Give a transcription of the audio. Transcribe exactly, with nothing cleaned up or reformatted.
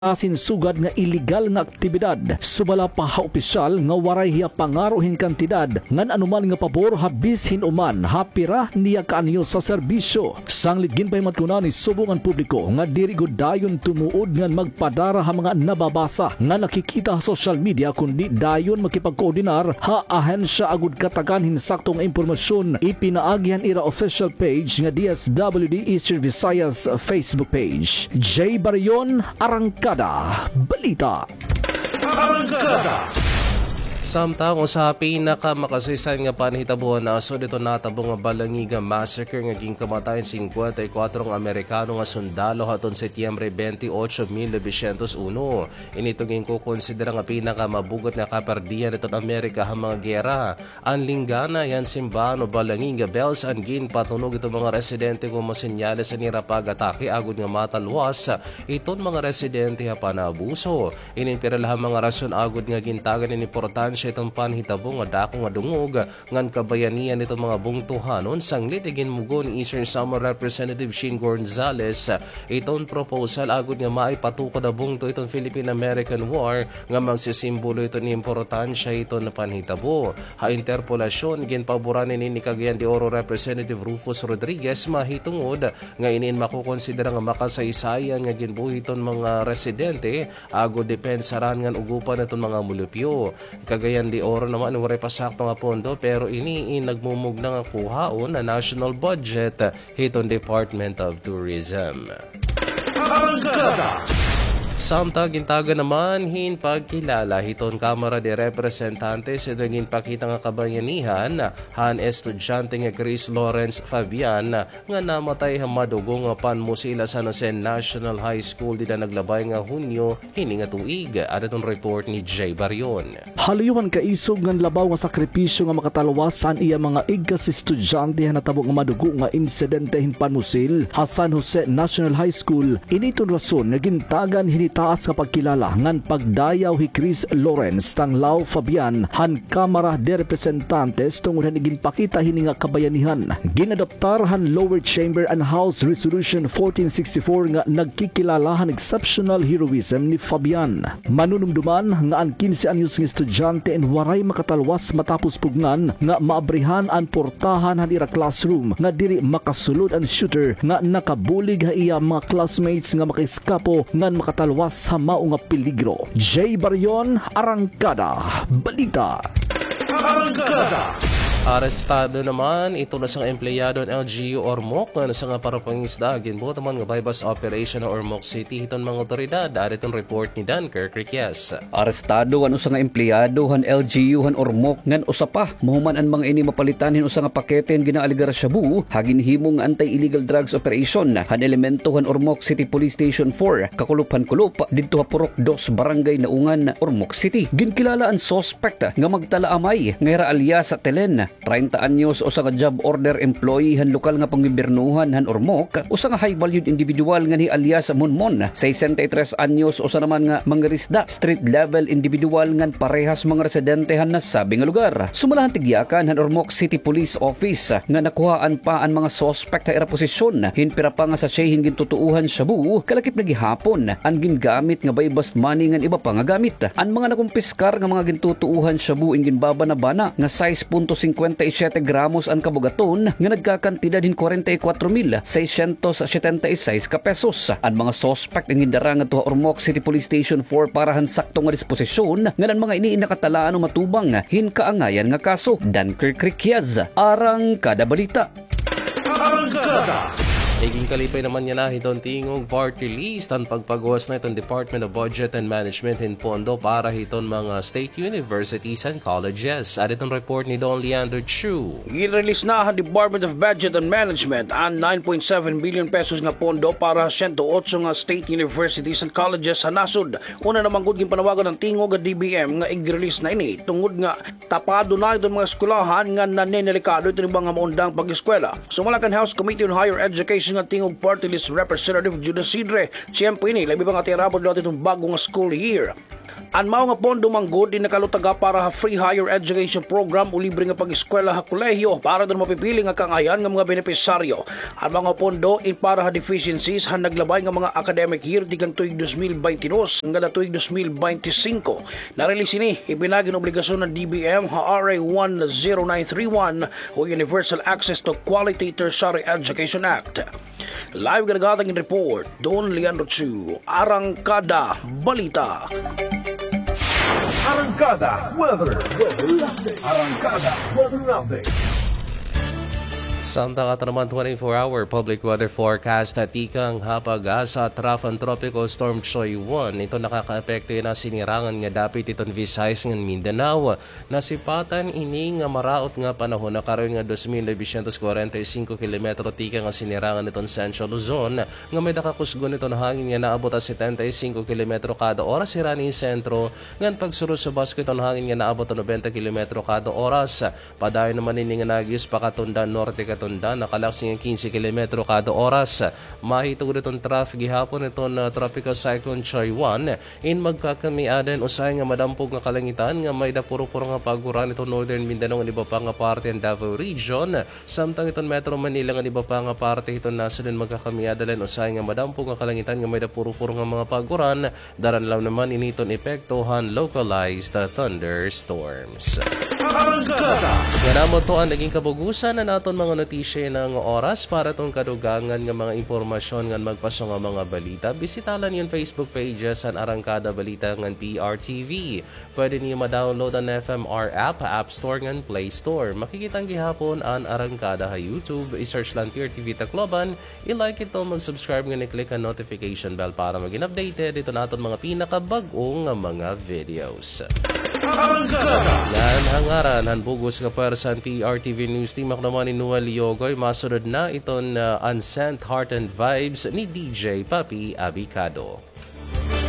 asin sugad nga iligal nga aktibidad. Sumala pa ha opisyal nga waray hiya pangaro hin kantidad ngan anuman nga pabor ha bisan hin-o man ha pira niya kaanyos sa serbisyo. Sanglit ginpahimatngon na ni subong an publiko nga diri gud dayon tumuod ngan magpadara ha mga nababasa nga nakikita ha social media, kundi dayon makipagkoordinar ha ahensya agod katagan hin sakto nga impormasyon, ipinaagi han ira official page nga D S W D Eastern Visayas Facebook page. Jay Barion, Arangkada Balita. Arangkada. Samtang usa ha pinakamakasaysayan nga panhitabo han nasod iton natabo nga Balangiga Massacre nga ginkamatay hin singkwenta y kuwatro nga Amerikano nga sundalo hadton Setyembre bente otso, mil nobesyentos uno. Ini iton ginkokonsidera nga pinakamabugot nga kaperdian hiton Amerika ha mga giyera. An linggana hiya han simbahan o Balangiga Bells an ginpatunog hiton mga residente komo senyales han ira pag-atake agod nga matalwas iton mga residente ha panaabuso. Ini an pira la ha mga rason agod nga gintagan hin importansya iton panhitabo nga dako nga dungog ngan kabayanihan hiton mga bungtohanon. Sanglit iginmugo ni Eastern Samar Representative Shane Gonzales iton proposal agod nga maipatukod ha bungto iton Philippine-American War nga magsisimbolo hiton importansya hiton panhitabo. Ha interpelasyon, ginpaboran ini ni Cagayan de Oro Representative Rufus Rodriguez mahitungod nga ini an makokonsidera nga makasaysayan nga ginbuhi hiton mga residente agod depensaran ngan ugopan hiton mga mulupyo. Cagayan de Oro naman waray pa sakto nga pondo, pero ini in nagmumugna nga kuhaon ha national budget hiton Department of Tourism. Arangkada. Samtang gintagan naman hin pagkilala hiton Kamara de Representantes iton ginpakita nga kabayanihan han estudyante nga Chris Lawrence Fabian nga namatay ha madugo nga panmusil ha San Jose National High School dida naglabay nga Hunyo hini nga tuig. Ada iton report ni Jay Barion. Ha luyo han kaisog ngan labaw nga sakripisyo nga makatalwas an iya mga igkas estudyante ha natabo nga madugo nga insidente hin panmusil ha San Jose National High School, ini iton rason nga gintagan hin hitaas nga pagkilala ngan pagdayaw hi Chris Lawrence Tanglao Fabian han Kamara de Representantes tungod han iginpakita hini nga kabayanihan. Ginadoptar han lower chamber an House Resolution fourteen sixty-four nga nagkikilala han exceptional heroism ni Fabian. Manunumduman nga an kinse anyos nga estudyante in waray makatalwas matapos pugngan nga maabrihan an portahan han ira classroom nga diri makasulod an shooter nga nakabulig ha iya mga classmates nga makaiskapo ngan makatalwas ha mao nga peligro. Jay Barion, Arangkada Balita. Arangkada. Arestado naman iton usa nga empleyado han L G U Ormoc ngan usa nga parapangisda ginbuhat naman nga buy-bust operation ha Ormoc City hiton mga otoridad. Ada iton report ni Dunker Criquias. Arestado an usa nga empleyado han L G U han Ormoc ngan usa pa mahuman an mga ini mapalitan hin usa nga pakete hin ginaalegar shabu ha ginhimo nga anti-illegal drugs operation han elemento han Ormoc City Police Station four, kakulop han kulop, didto ha Purok Dos, Barangay Naungan, Ormoc City. Ginkilala an suspect nga magtalaamay nga hira alias Telen, treinta anyos, usa nga job order employee han lokal nga panggobiernohan han Ormoc, usa nga high-valued individual ngan hi alias Monmon, sesenta y tres anyos, usa naman nga mangirisda, street-level individual ngan parehas mga residente han nasabi nga lugar. Sumala han tigyakan han Ormoc City Police Office nga nakuhaan pa an mga suspect ha ira posisyon hin pira pa nga sachet hin gintutuohan shabu, kalakip na gihapon an gingamit nga buy-bust money ngan iba pa nga gamit. An mga nakumpiskar nga mga gintutuohan shabu in ginbabana-bana nga sais punto singkwenta y siyete gramos an kabugaton nga nagkakantidad hin kwarenta y kwatro mil seiscientos setenta y seis ka pesos. An mga suspect in gindara ngadto ha Ormoc City Police Station four para han sakto nga disposisyon, ngan an mga ini in nakatalaan o matubang hin kaangayan nga kaso. Dunker Criquias, Arangkada Balita. Arangkada. Iginkalipay naman yana hiton Tingog Party List an pagpaguwas na hiton Department of Budget and Management hin pondo para hiton mga state universities and colleges. Ada iton report ni Don Leander Chu. Gin-release na han Department of Budget and Management an nine point seven billion pesos nga pondo para ha siyento otso nga state universities and colleges ha nasod. Una naman gud ginpanawagan han Tingog nga D B M nga ig-release na ini tungod nga tapado na iton mga eskwelahan nga nanenelikado iton iba nga maundang pag-eskwela. Sumala kan House Committee on Higher Education nga Tingog Party List Representative Jude Isidre, tiyempo ini labi pa nga tirabod liwat iton bag-o nga school year. An mao nga pondo man gud in nakalutaga para ha free higher education program o libre nga pag-eskwela ha kolehiyo para daw mapipili nga kaanghayan nga mga benepisaryo. An mga pondo in para ha deficiencies han naglabay nga mga academic year tikang tuig dos mil baynte dos ngada tuig dos mil baynte singko. Narelihis ini, ipinagi hin obligasyon han D B M ha R A one zero nine three one o Universal Access to Quality Tertiary Education Act. Live ganagatang in report, Don Leandro Chu, Arangkada Balita. Arangkada Weather. Arangkada Weather Update. Samtang aton naman twenty-four hour public weather forecast, tikang ha PAGASA, trough an Tropical Storm Choy one, ito nakakaapekto yana ha sinirangan nga dapit hiton Visayas ngan Mindanao. Nasipatan ini nga maraot nga panahon ha karayo nga dos mil novecientos kwarenta y singko kilometro tikang ha sinirangan hiton Central Luzon, nga may-ada kakusgon hiton hangin nga naabot ha setenta y singko kilometro kada oras, hirani hin sentro, ngan pagsurusubas hiton hangin nga naabot ha nobenta kilometro kada oras. Padayon naman ini nga nag-ius pa katundan norte, katundan nakalaksi nga kinse kilometro kada oras. Mahitungod hiton trough gihapon hiton, ah, Tropical Cyclone Choy one, in magkakamiadan usahay nga madampog nga kalangitan nga may-ada puro-puro nga pag-uran hiton Northern Mindanao ngan iba pa nga parte han Davao Region, samtang hiton Metro Manila ngan iba pa nga parte hiton nasod in magkakamiadan la hin usahay nga madampog nga kalangitan nga may-ada puro-puro nga mga pag-uran. Daran la naman ini hiton epekto han localized thunderstorms. Arangkada. Ngan amo ito an naging kabug-osan han aton mga notisya yana nga oras. Para hiton kadugangan nga mga impormasyon ngan magpaso nga mga balita, bisita la niyo an Facebook pages han Arangkada Balita ngan P R T V. Pwede niyo ma-download an F M R app ha App Store ngan Play Store. Makikita niyo gihapon an Arangkada ha YouTube. I-search la an P R T V Tacloban. I-like ito, mag-subscribe ngan i-click an notification bell para maging updated hiton aton mga pinakabag-o nga mga videos. Arangkada. Ngan ha ngaran han bug-os nga pwersa han P R T V News Team, ako naman hi Noel Yogoy, masunod na iton, ah, Unsent Heart and Vibes ni D J Papi Abicado.